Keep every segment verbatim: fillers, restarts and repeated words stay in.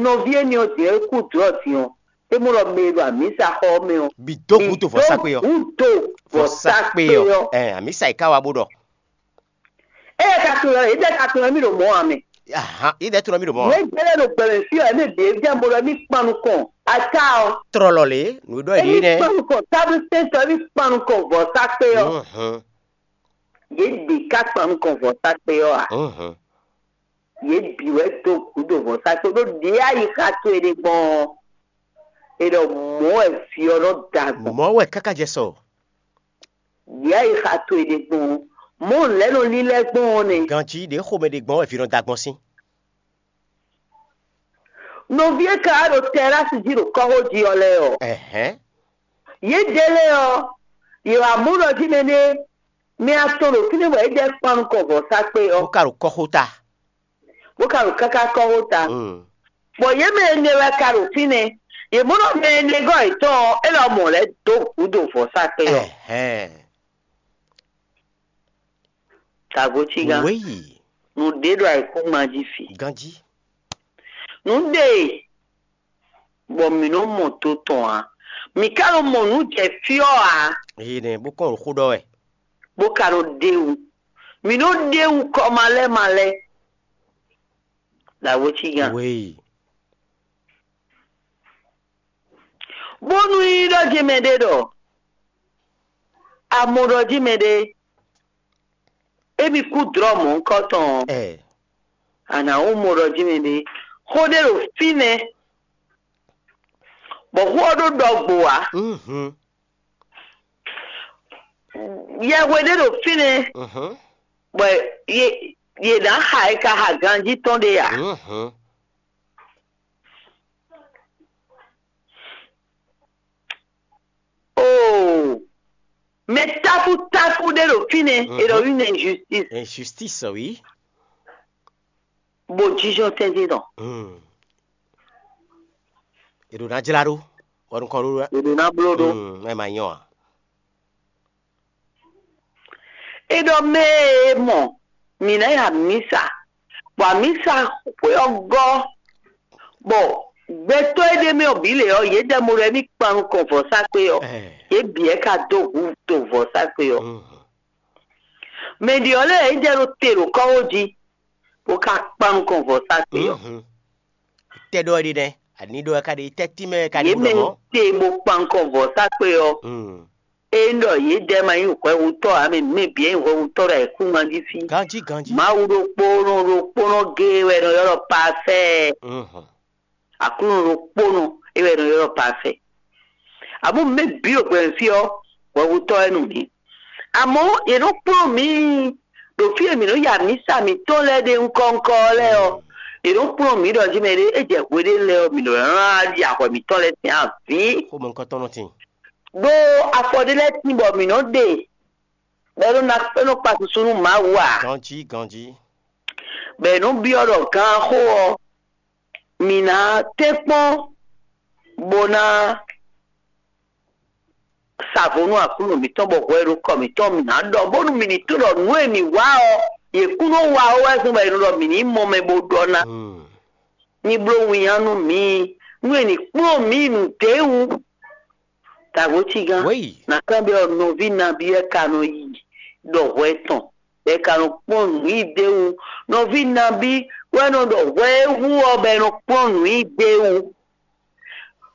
Nɔví énɛ́ ɔ́ din ɔ́, é kú dlɔ̌ din ɔ́, é mɔ ɖɔ mɛ e ɖo amǐsaxɔ ɔ́ mɛ ɔ́, Bǐ dó gǔdo vɔ̌sákpe ɔ́. Gǔdo vɔ̌sákpe ɔ́. Ɛ, amǐsa yi ká wá bó ɖɔ. Ée ka tunwun ɔ́, yědɛɛ ka tunwun mì ɖo mɔ̌ ǎ mɛ. Ahan, yědɛɛ tunwun mì ɖo mɔ̌ ǎ. Nǔ e jɛ lɛ́ ɖo gbɛmɛ fí ɔ́, ɛmɛ bǐ é jɛ mɔ ɖɔ mì kpan nukɔn ata ɔ́. Trɔlɔ lě, nǔ e ɖɔ yě nɛ́. Kpan nukɔn táblu sɛntɔ, mì kpan nukɔn vɔ̌sákpe ɔ́. Yě bǐ ka kpan nukɔn vɔ̌sákpe ɔ́ ǎ. Yě bǐ wɛ dó gǔdo vɔ̌sákpe ɖó ɖě ayixa towe ɖe gbɔn ɔ́, è ɖɔ mɔ̌ wɛ vǐ ɔ́ nɔ da gbɔn. Mɔ̌ wɛ káká jɛ sɔ. Ɖě ayixa towe ɖe gbɔn ɔ́, mɔ̌ lɛ̌ nɔ lílɛ́ gbɔn ɔ́ nɛ́. Ganjí ɖě xomɛ ɖe gbɔn wɛ vǐ nɔ da gbɔn sín. Nɔví e ka wá ɖo tɛrási jí ɖo kɔ́xo jí ɔ́ lɛ́ɛ ɔ́, Ɛhɛn. Yědɛɛ lɛ́ɛ ɔ́, yě wá mɔ ɖɔ jí mɛ ɖé mɛ atɔn ɖo fínɛ́ bɔ yědɛɛ kpan nukɔn vɔ̌sákpe ɔ́. Bó ka ɖo kɔ́xota. Bó ka ɖo káká kɔ́xota. Mm. Bɔ yě mɛ énɛ́ wɛ ka ɖo fínɛ́. Yě mɔ ɖɔ mɛ énɛ́ gɔ́ yětɔn ɔ́, é lɔ mɔ lɛ́ dó gǔdo vɔ̌sákpe ɔ́. Ɛhɛn. Tagotígán. Wéyi. Nǔɖé ɖo ayǐkúngban jí fi. Ganjí. Nǔɖé bɔ mǐ nɔ mɔ to tɔn ǎ. Mǐ ka nɔ mɔ nǔ jɛ fí ɔ́ ǎ. Ee nɛ bó kɔn ɖo xó ɖɔ wɛ. Bó ka nɔ ɖe wú. Mǐ nɔ ɖe wú kɔ malɛ́ malɛ́. Tagotígán. Wéyi. Bónú nyí ɖɔ jí mɛɖé ɖɔ amɔ ɖɔ jí mɛɖé émi kú dlɔ́ mɔ̌hunkɔtɔn ɔ́, Ɛ. A nǎ wú mɔ ɖɔ jí mɛɖé xó ɖé ɖo fínɛ́, bɔ xó ɔ́ ɖó ɖɔgbo ǎ. Mhm. Yɛhwe ɖé ɖo fínɛ́, Mhm. bɔ yě yě ná xa e ka xa ganjí tɔn ɖé ǎ. Mhm. Oo, mɛ táfútáfú ɖé ɖo fínɛ́, e ɖɔ une injustice. Injustice, oui. Bo jijɔ tɛntin tɔn. Hmm. E ɖo ná jlá ɖó, bɔ nukɔn ɖó. E ɖo ná bló ɖó. Hmm, ɛ ma nyɔ a? E ɖɔ mɛ e mɔ mǐ ná yi amǐsa, bɔ amǐsa xwé ɔ́ gɔ́, bɔ gbɛtɔ́ e ɖ'é mɛ ɔ́ bǐ lě ɔ́, yě jɛ mo ɖɔ émí kpan nukɔn vɔ̌sákpe ɔ́, Ɛɛ. Yě bǐ wɛ ka dó hu to vɔ̌sákpe ɔ́. Mhm. Mɛ ɖě ɔ́ lɛ́ɛ yě jɛ ɖo te ɖo kɔ́xo jí, bó ka kpan nukɔn vɔ̌sákpe ɔ́. Mhm. Tɛ ɖɔ wɛ ɖe nɛ́, ani ɖɔ wɛ ka ɖe, tɛ tínmɛ wɛ ka ɖe Yě bó mɛ ɖɔ mɔ̌. Te bó kpan nukɔn vɔ̌sákpe ɔ́. Mm. Ényí ɖɔ yědɛɛ ma nyí hwɛhutɔ́ ǎ, mɛ mɛ bǐ nyí hwɛhutɔ́ ɖo ayǐkúngban jí fí. Ganjí, ganjí. Mawu ɖokpónɔ ɖokpónɔ géé wɛ è nɔ ylɔ́ ɖɔ parfait. Mhm. Aklúnɔ ɖokpónɔ é wɛ è nɔ ylɔ́ ɖɔ parfait. Amɔ̌ mɛ bǐ ɖo gbɛmɛ fí ɔ́, hwɛhutɔ́ wɛ nú mǐ. Amɔ̌ yě nɔ kplɔ́n mǐ ɖo fí e mǐ nɔ ya mǐsa mǐtɔn lɛ́ɛ ɖe ŋkɔ́ŋkɔ́ ɔ́ lɛ́ɛ ɔ́, yě nɔ kplɔ́n mǐ ɖɔ jí mɛ ɖé é jɛ hwe ɖé lɛ́ɛ ɔ́, mǐ nɔ ylɔ́ ná ɖi ahwɛ mǐtɔn lɛ́ɛ sín avǐ. Xomɛ ŋkɔtɔn nɔ tin. Ɖó afɔ ɖé lɛ́ɛ tín bɔ mǐ nɔ ɖe, bɔ é nɔ ná é nɔ kpa susu nú Mawu ǎ. Ganjí, ganjí. Bɔ è nɔ byɔ́ ɖɔ ganxó ɔ́, mǐ ná tɛ́nkpɔ́n bó ná sa vo nú Aklúnɔ mǐtɔn, bɔ hwɛ e ɖo kɔ mǐtɔn mǐ ná ɖɔ, bónú mǐ ní tunwun ɖɔ nǔ e mǐ wa ɔ́, yě kún nɔ wa ó wɛ zɔ́n bɔ è nɔ ɖɔ mǐ ní mɔ mɛ bó ɖɔ ná. Hmm. Ní bló winnyá nú mǐ, nú è nǐ kplɔ́n mǐ nǔɖé wú. Tagotígán, Wéyi. Nǎ kanbyɔ́ nɔví nabí wɛ ka nɔ yi ɖɔ hwɛ tɔn, bɔ è ka nɔ kplɔ́n nǔ yi d'é wú? Nɔví nabí wɛ nɔ ɖɔ hwɛ e wú ɔ́, bɔ è nɔ kplɔ́n nǔ yi d'é wú?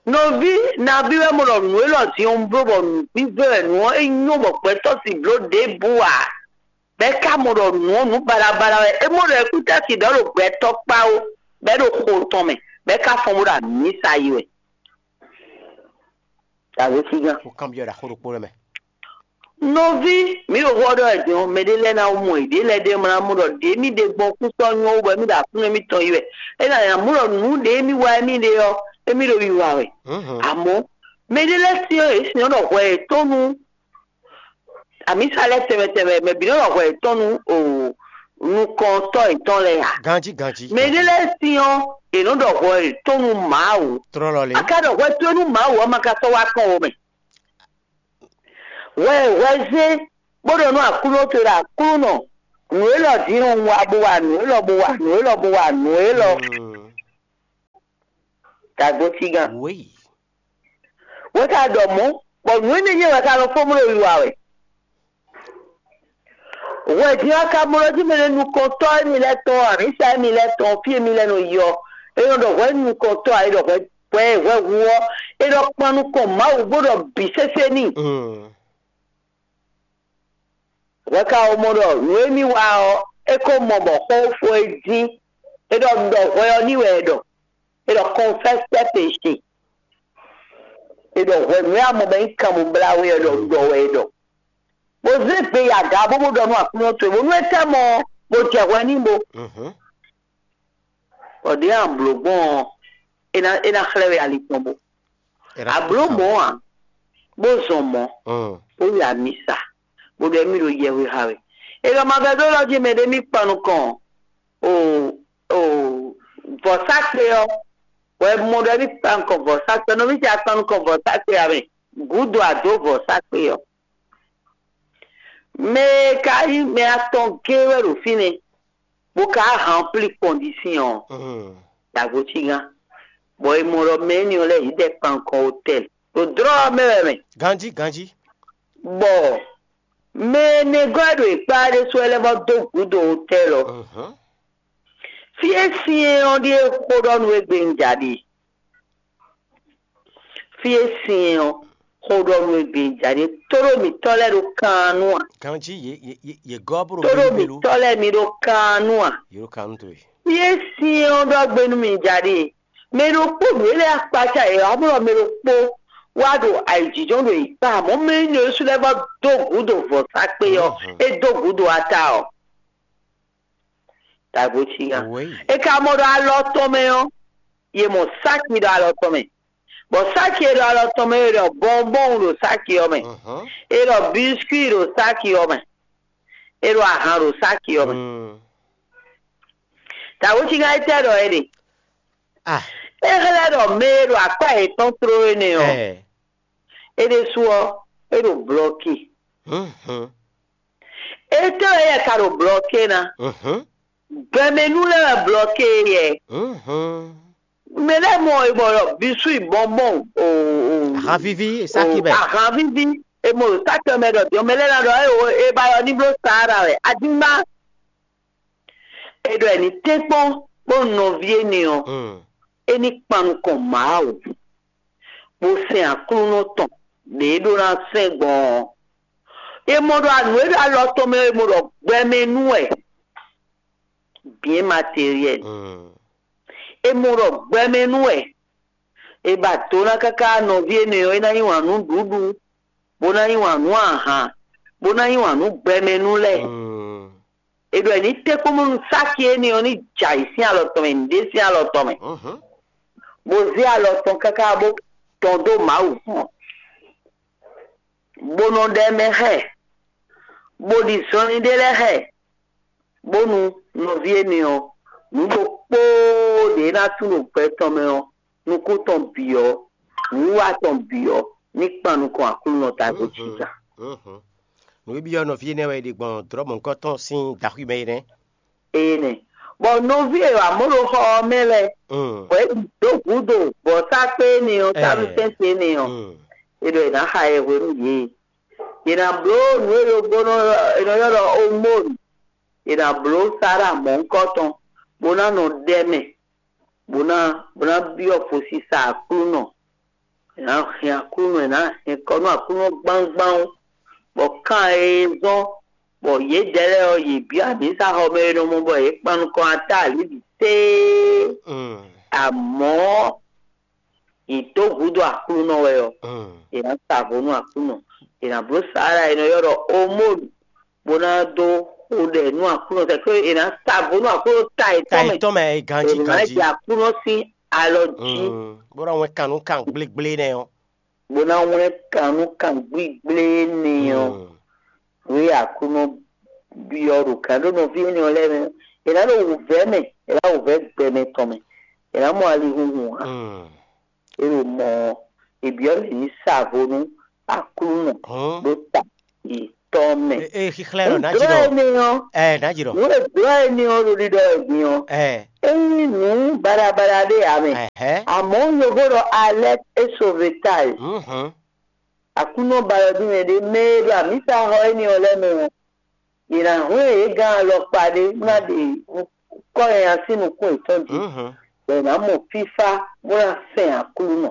Nɔví nabí wɛ mɔ ɖɔ nǔ élɔ́ din ɔ́ un bló bɔ nǔgbígbé wɛ nǔ ɔ́ é nyɔ́ bɔ gbɛtɔ́ sixú bló ɖěbǔ ǎ? Bɔ é ka mɔ ɖɔ nǔ ɔ́ nǔ baɖabaɖa wɛ, é mɔ ɖɔ é kún tɛ́ sin ɖɔ é ɖo gbɛtɔ́ kpá ó, bɔ é ɖo xo tɔn mɛ, bɔ é ka fɔ́n bó ɖo amǐsa yi wɛ. Tagotígán. Xó kanbyɔ́ ɖo axó ɖokpó lɛ́ɛ mɛ. Nɔví, mǐ ɖo xó ɔ́ ɖɔ wɛ din ɔ́, mɛɖé lɛ́ɛ ná mɔ yěɖée lɛ́ɛ ɖ'é mɛ ná mɔ ɖɔ ɖě mì ɖe gbɔn kúsɔ nyɔ́ wú bɔ émí ɖo aklúnɔ émítɔn yi wɛ. É ná nya mɔ ɖɔ nǔ ɖě émí wa émí ɖe ɔ́, émí ɖo wiwa wɛ. Mhm. Amɔ̌, mɛɖé lɛ́ɛ syɔ́n yě syɔ́n ɖɔ hwɛ yětɔn nú amǐsa lɛ́ɛ tɛnmɛ tɛnmɛ, mɛ bǐ nɔ ɖɔ hwɛ yětɔn nú o nukɔntɔ́ yětɔn lɛ́ɛ ǎ. Ganjí, ganjí. Mɛɖé lɛ́ɛ syɔ́n yě nɔ ɖɔ hwɛ yětɔn nú Mawu. Tlɔlɔ lě. A ka ɖɔ hwɛ towe nú Mawu ɔ́, ma ka sɔ́ wá kpɔ́n wo mɛ. Hwɛ hwɛ zé bó ɖɔ nú Aklúnɔ towe ɖɔ Aklúnɔ, nǔ élɔ́ din un wa bó wa nǔ élɔ́ bó wa nǔ élɔ́ bó wa nǔ élɔ́. Mm. Dagbotígán. Wěyi. Wɛ ka ɖɔ mɔ̌, bɔ nǔ énɛ́ nyɛ wɛ ka nɔ fó mló wiwa wɛ. Hwɛ din ɔ́, ka mlɔ́ jí mɛ ɖé nukɔntɔ́ émí lɛ́ɛ tɔn, amǐsa émí lɛ́ɛ tɔn, fí émí lɛ́ɛ nɔ yi ɔ́, é nɔ ɖɔ hwɛ nukɔntɔ́ ǎ, é ɖɔ hwɛ hwɛ hwɛ hu ɔ́, é ɖɔ kpan nukɔn Mawu bó ɖɔ bǐ sésé n'i. Mm. Hwɛ ka wɛ mɔ ɖɔ nǔ e mì wa ɔ́, é ko mɔ bɔ xó fó é jí. É ɖɔ ɖɔ hwɛ ɔ́ ní wɛ é ɖɔ. É ɖɔ confesse tes péchés. É ɖɔ hwɛ nǔ e a mɔ bɔ é nyí kanmɔblá we ɔ́ ɖɔ ɖɔ wɛ é ɖɔ. Bó zé gbe yi aga bó bó ɖɔ nú Aklúnɔ towe bónú é tɛ́ mɔ ɔ́, bó jɛ hwɛ n'i bo. Mhm. Bɔ ɖěe a blǒ gbɔn ɔ́, é ná é ná xlɛ́ we ali tɔn bo. Ablǒ mɔ̌ ǎ, bó zɔn mɔ̌, bó yi amisa, bó ɖɔ émí ɖo yɛhwe xa wɛ. È ɖɔ ma vɛdó lɔ jí mɛ ɖé mì kpan nukɔn o o vɔ̌sákpe ɔ́, bɔ è mɔ ɖɔ émí kpan nukɔn vɔ̌sákpe ɔ́, nɔví ce a kpan nukɔn vɔ̌sákpe ǎ mɛ, gǔdo a dǒ vɔ̌sákpe ɔ́. Mɛ e ka nyí mɛ atɔn géé wɛ ɖo fínɛ́, bó ka hánplí kɔndisíɔn ɔ́, dagbo cí gán, bɔ è mɔ ɖɔ mɛ énɛ́ ɔ́ lɛ́ɛ yě ɖɛ kpan nukɔn otɛ́l ɖo dlɔ́ ɔ́ mɛ wɛ mɛ. Ganjí, ganjí. Bɔ mɛ énɛ́ gɔ́ e ɖo yě kpá ɖésú wɛ lɛ́ vɔ́ dó gǔdo otɛ́l ɔ́. Mhm. Fí e syɛ́n ɔ́ ɖíe xó ɖɔ nú we gbe un ja ɖe. Fí e syɛ́n ɔ́ xó ɖɔ nú we gbe un ja ɖe. Tóɖó mǐtɔn lɛ́ɛ ɖo kan nú a? Ganjí yě yě yě yě gɔ́ bó ɖo Tóɖó gbégbé lo. Mǐtɔn lɛ́ɛ mi ɖo kan nú a? Yě ɖo kan nú towe. Fí e syɛ́n ɔ́ ɖɔ gbe nú mi ja ɖe. Mɛ ɖokpó nǔ e lɛ́ɛ akpácá yě wá blɔ mɛ ɖokpó wá ɖo ayǐjínjɔ́n ɖo yě kpá, amɔ̌ mɛ énɛ́ ɖésú lɛ́ɛ vɔ́ dó gǔdo vɔ̌sákpe ɔ́, é dó gǔdo ata ɔ́. Dagbo cí gán. Wěyi. É ka mɔ ɖɔ alɔ tɔn mɛ ɔ́, yě mɔ sáki ɖo alɔ tɔn mɛ. Bɔ sáki e ɖo alɔ tɔn mɛ é ɖɔ bɔnbɔn ɖo sáki ɔ́ mɛ. Mhm. É ɖɔ biskwi ɖo sáki ɔ́ mɛ. É ɖɔ ahan ɖo sáki ɔ́ mɛ. Mm. Dagbo cí gán étɛ́ ɖɔ é ɖe? Ah. É xlɛ́ ɖɔ mɛ e ɖo akpá yětɔn tló énɛ́ ɔ́, ɛ é ɖésú ɔ́, é ɖo blɔki. Mhm. Étɛ́ wɛ yɛ ka ɖo blɔki ná? Mhm. Gbɛmɛnú lɛ́ɛ wɛ blɔki yɛ. Mhm. Mɛ lɛ́ɛ mɔ e bɔ ɖɔ bisú yi bɔnbɔn o o Ahanvíví, sáki mɛ. Ahanvíví e mɔ ɖo sáki ɔ́ mɛ ɖɔ dɔn mɛ lɛ́ɛ ná ɖɔ é o é ba yɔ ní bló Sahara wɛ. Adígbá. É ɖɔ ɛ ní tɛ́nkpɔ́n kpó nɔví énɛ́ ɔ́, mm, é ní kpan nukɔn Mawu, bó sɛn Aklúnɔ tɔn ɖě é ɖó ná sɛn gbɔn ɔ́. È mɔ ɖɔ nǔ e ɖo alɔ tɔn mɛ ɔ́, è mɔ ɖɔ gbɛmɛ nú wɛ, bien matériel. Mm. È mɔ ɖɔ gbɛmɛ nú wɛ. È ba do ná káká nɔví énɛ́ ɔ́, é ná yí wǎn nú nǔɖuɖu, bó ná yí wǎn nú ahan, bó ná yí wǎn nú gbɛmɛ nú lɛ́ɛ. Mm. È ɖɔ è ní tɛ́nkpɔ́n bónú sáki énɛ́ ɔ́ ní jɛ ayǐ sín alɔ tɔn mɛ, nǔɖé sín alɔ tɔn mɛ, mhm, bó zé alɔ tɔn káká bó tɔn dó Mawu kpɔ́n, bó nɔ ɖɔ ɛ mɛ xá ɛ, bó ɖi zɔnlin ɖé lɛ́ɛ xá ɛ, bónú nɔví énɛ́ ɔ́, nǔ ɖokpóó ɖě ná tunwun ɖo gbɛ tɔn mɛ ɔ́, nukún tɔn bǐ ɔ́, wǐwá tɔn bǐ ɔ́, ní kpan nukɔn Aklúnɔ ta dó jǐga. Mhm. Nǔ e byɔ́ nɔví énɛ́ wɛ è ɖe gbɔn dlɔ̌ mɔ̌hunkɔtɔn sín daxwí mɛ é nɛ́. Énɛ́. Bɔ nɔví e wǎ mɔ ɖo xɔ ɔ́ mɛ lɛ́ɛ, mm, bɔ é bǐ dó gǔdo vɔ̌sákpe énɛ́ ɔ́, eh, táɖusɛ́nte énɛ́ ɔ́, mm, è ɖɔ è nǎ xa yɛ hwenu yě. È nǎ bló nǔ e ɖokpónɔ è nɔ ylɔ́ ɖɔ omónu. È nǎ bló Sara mɔ̌hunkɔtɔn, bó ná nɔ ɖɛ mɛ, bó ná bó ná byɔ́ fosisa Aklúnɔ. È nǎ hɛn Aklúnɔ, è nǎ hɛn kɔ nú Aklúnɔ gbángbán, bɔ kan e zɔ́n bɔ yědɛɛ lɛ́ɛ ɔ́, yě byɔ́ amǐsaxɔmɛ e nɔ mɔ bɔ yě kpan nukɔn atá alǐ bǐ téé. Mm. Amɔ̌, yě dó gǔdo Aklúnɔ wɛ ɔ́, mm, è nǎ sa vo nú Aklúnɔ. È nǎ bló Sala e nɔ ylɔ́ ɖɔ Omónu, bó ná dó xo ɖɛ nú Aklúnɔ, sɛkpé è nǎ sa vo nú Aklúnɔ ta yětɔn mɛ. Ta yětɔn mɛ, ganjí, è nǎ ganjí. Jɛ Aklúnɔ sín alɔ jí. Mm, bó ná wɛn kan nú kan gblégblé nɛ́ ɔ́. Bó ná wlɛ́n kan nú kan gbígblé énɛ́ ɔ́, mm, nǔ e Aklúnɔ byɔ́ ɖo gǎn ɖó nɔví énɛ́ ɔ́ lɛ́ɛ mɛ, è nǎ ɖo wǔvɛ́ mɛ, è nǎ wǔvɛ́ gbɛmɛ tɔn mɛ, è nǎ mɔ alihunhun ǎ. Mm. É ɖo mɔ ɔ́, è byɔ́ lě ní sa vo nú Aklúnɔ, hɔn, ɖó ta e tɔn mɛ. Xixlɛ lɔ nǎ jǐ ɖɔ. Ɛ nǎ jǐ ɖɔ. Nǔ e blɔ́ éní ɔ́ ɖo ɖiɖɔ ɛ din ɔ́, é nyí nǔ baɖabaɖa ɖé ǎ mɛ. Amɔ̌, yovo ɖɔ alerte et sauvetage. Aklúnɔ ba yɔdún mɛ ɖé mɛ e ɖo amǐsaxɔ éní ɔ́ lɛ́ɛ mɛ ɔ́, yě ná hwlɛ́n yě gán alɔkpa ɖé bó ná ɖe kɔ́ nyanya sín nukún yětɔn jí, bɔ yě ná mɔ fífá bó ná sɛn Aklúnɔ.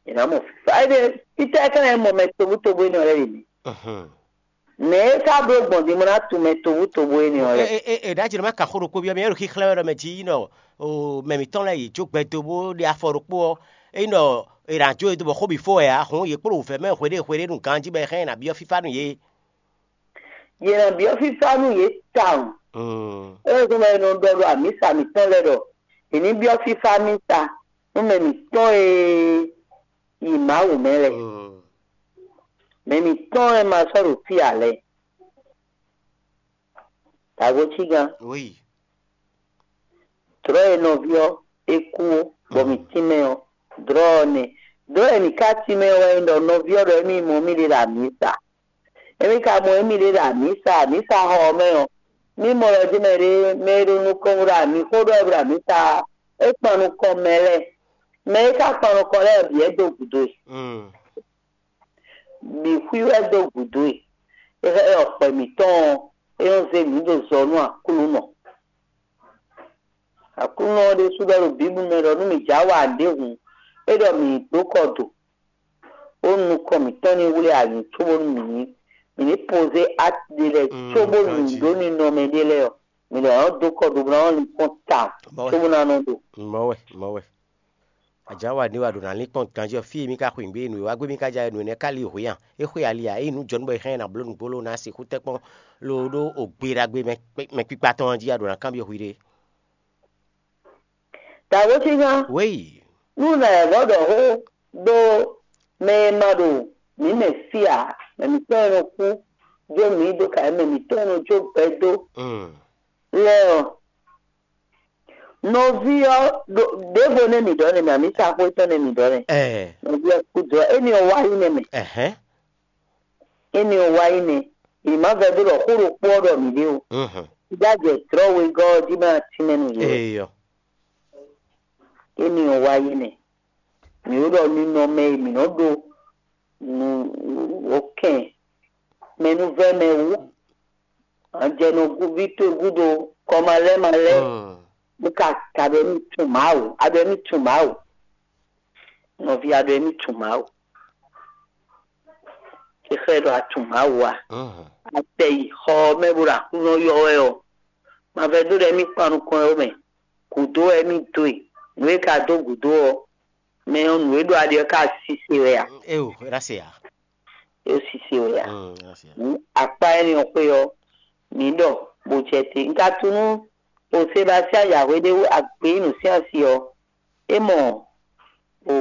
Yě ná mɔ fífá. Éɖée, fítɛ́ ká nyí mɔ mɛ tobutobu énɛ́ lɛ́ɛ ɖě mi? Mɛ e ka bló gbɔn din bó ná tunwun mɛ tobutobu énɛ́ lɛ́ɛ. È ɖǎ jǐ nɔ má ka xó ɖokpó byɔ́ mì, é ɖo xíxlɛ́ wɛ ɖɔ mɛ jí yi nɔ mɛ mǐtɔn lɛ́ɛ yě jó gbɛ dó bó ɖe afɔ ɖokpó ɔ́, é nyí ɖɔ è nǎ jó e dó bɔ xó bǐ fó wɛ ǎ, hǔn yě kpló wǔvɛ́ mɛ hweɖée hweɖée nú ganjí bɔ è hɛn ná byɔ́ fífá nú yě. Yě ná byɔ́ fífá nú yě tawun. É wɛ zɔ́n bɔ è nɔ ɖɔ ɖo amǐsa mǐtɔn lɛ́ɛ ɖɔ è ní byɔ́ fífá mísa nú mɛ mǐtɔn e yi Mawu mɛ lɛ́ɛ. Mɛ mǐtɔn e ma sɔ́ ɖo fí ǎ lɛ́ɛ. Dǎgocí gán. Dlɔ̌ e nɔví ɔ́ é kú ó, bɔ mǐ tínmɛ ɔ́, dlɔ̌ ɔ́ nɛ́. Dlɔ̌ e mǐ ka tínmɛ ɔ́ wɛ nyí ɖɔ nɔví ɔ́ ɖɔ émí mɔ mì ɖe ɖo amǐsa. Émí ka mɔ émí ɖe ɖo amǐsa, amǐsa xɔ ɔ́ mɛ ɔ́, mí mɔ ɖɔ jɛ́n mɛ ɖé mɛ e ɖo nukɔn ɖo amǐ xó ɖɔ wɛ ɖo amǐsa ɔ́, é kpan nukɔn mɛ lɛ́ɛ. Mɛ e ka kpan nukɔn lɛ́ɛ bǐ wɛ dó gǔdo e. Bǐ xwí wɛ dó gǔdo e. É xlɛ́ ɖɔ xwɛ mǐtɔn ɔ́, é nɔ́ zé mǐ ɖo zɔ nú Aklúnɔ. Aklúnɔ ɔ́ ɖésú ɖɔ ɖo Bǐblu mɛ ɖɔ nú mǐ jǎ wa ɖěhǔn, é ɖɔ mǐ dó kɔ do, bónú nukɔn mǐtɔn ní wlí ayǐ cóbónú mǐ ní mǐ ní pozé ati ɖé lɛ́ɛ cóbónú nǔɖó ninɔmɛ ɖé lɛ́ɛ ɔ́, mǐ lɛ́ nɔ́ dó kɔ do bó ná nɔ́ lín kpɔ́n tawun cóbó ná nɔ́ ɖo. Mɔ̌ wɛ, mɔ̌ wɛ. Ajǎ wa ní wa ɖo nǎ lín kpɔ́n ganjí ɔ́, fí e mì ka xweyǐgbe e nǔ e wá gbé mì ka ja wɛ nǔ énɛ́ ka lí hwǐ a? É xwe ali a? É nyí nǔ jɔnú bɔ è hɛn ɛ ná bló nǔgbó lónɔ́ ná sixú tɛ́ kpɔ́n lóɖó ògbeɖagbe mɛ kpikpa tɔn ɔ́ jí a ɖǒ ná kanbyɔ́ hwi ɖe. Dǎwe sígán, Wéyi. Nú nǎ yɛ vɔ́ ɖɔ xó ɖó mɛ e ma ɖo mǐ mɛ fí ǎ, mɛ mǐtɔn e nɔ kú jó mǐ dó ka mɛ mǐtɔn e nɔ jó gbɛ dó lɛ́ɛ ɔ́, nɔví ɔ́ ɖo ɖěvo nɛ́ mǐ ɖɔ nɛ́ mɛ, amǐsaxwé tɔn nɛ́ mǐ ɖɔ nɛ́. Ɛɛ. Nɔví ɔ́ kú dó ɔ́, éní ɔ́ wá yi nɛ́ mɛ. Ɛhɛn. Éní ɔ́ wá yi nɛ́. Yě má vɛdó ɖɔ xó ɖokpó ɔ́ ɖɔ mǐ ɖe o. Mhm. Jájɛ dlɔ̌ wegɔ́ ɔ́ jí má tínmɛ nú yě o. Eyɔ. Éní ɔ́ wá yi nɛ́. Mǐ ɖo ɖɔ ninɔmɛ e mǐ nɔ ɖó nǔ wǒkɛn mɛnúvɛ́mɛ wú. Anjɛnɔ gúví towe gúdo kɔmalɛ́malɛ́, bó ka ka ɖɔ émí tunwun Mawu, a ɖɔ émí tunwun Mawu. Nɔví, a ɖɔ émí tunwun Mawu. Xixlɛ́ ɖɔ a tunwun Mawu a? A tɛ yi xɔ ɔ́ mɛ bó ɖo Aklúnɔ ylɔ́ wɛ ɔ́, ma vɛdó ɖɔ émí kpan nukɔn ɔ́ mɛ. Gǔdo wɛ émí dó e. Nǔ e ka dó gǔdo ɔ́, mɛ ɔ́ nǔ e ɖo ali ɔ́ ka sise wɛ a? Eo, é ná se ǎ. É sise wɛ a? Mm, é ná se ǎ. Hǔn akpá énɛ́ ɔ́ xwé ɔ́, mǐ ɖɔ bó jɛ te. Un ka tunú o Sebastiyán yǎhwe ɖé wú agbe nyí nǔsyánsi ɔ́, é mɔ o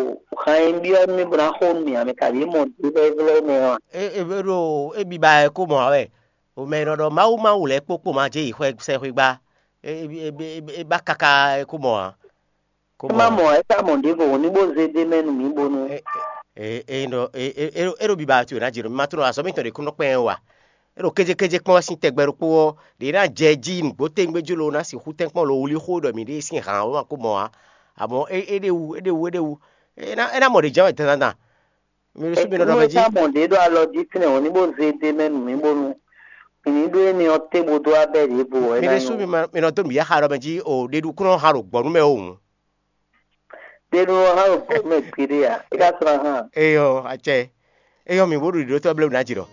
han e un byɔ́ nú mì bó ná xo nú mì ǎ, mɛ kaɖi é mɔ ɖě bɔ é vlɛ́ mɛ ɔ́ a? É é é ɖo é biba ɛ kó mɔ ǎ wɛ. O mɛ e nɔ ɖɔ Mawu Mawu lɛ́ɛ kpókpó ma jɛ yi xwɛ sɛxwé gbá. É é é é é ba káká é kó mɔ ǎ. Kó É má mɔ mɔ ǎ, é ka mɔ ɖěvo hǔn ní bó zé d'é mɛ nú mǐ bónú. É é é ɖɔ é é é é ɖo biba ɔ́ ná jǐ ɖɔ mì ma tunɔ azɔ̌ mitɔn ɖě kún nɔ kpɛn wɛ a? É ɖo kéjékéjé kpɔ́n wɛ sín tɛgbɛ ɖokpó ɔ́, ɖě ná jɛ jí nǔgbó tɛ́ngbé jí lo ná sixú tɛ́nkpɔ́n lo wlí xó ɖɔ mǐ ɖe sín hǎn ɔ́ ma kó mɔ ǎ. Amɔ̌ é é ɖe wú é ɖe wú é ɖe wú é ná é ná mɔ ɖě jɛ́n wɛ dandan. Mi ɖo sú mi nɔ ɖɔ mɛ jí. Ká mɔ ɖě ɖo alɔ jí fínɛ́ hǔn ní bó zé d'é mɛ nú mǐ bónú mǐ ní ɖó énɛ́ ɔ́ té bó dó abɛ ɖěvo ɔ́ é Mi ná ɖo sú nyɔ́. Mi ma- mi nɔ dó nǔ ya xa ɖɔ mɛ jí o ɖeɖu kún nɔ xa ɖo gbɔ̌ nú mɛ o hǔn. Ɖe nú ɔ́ hã ɖo gbɔ̌ mɛ gbeɖé ǎ, é ka sɔ́ ná hã. Eyɔ acɛ. Eyɔ mi bó ɖo ɖiɖótɔ́ blé wǔ ná jǐ ɖɔ.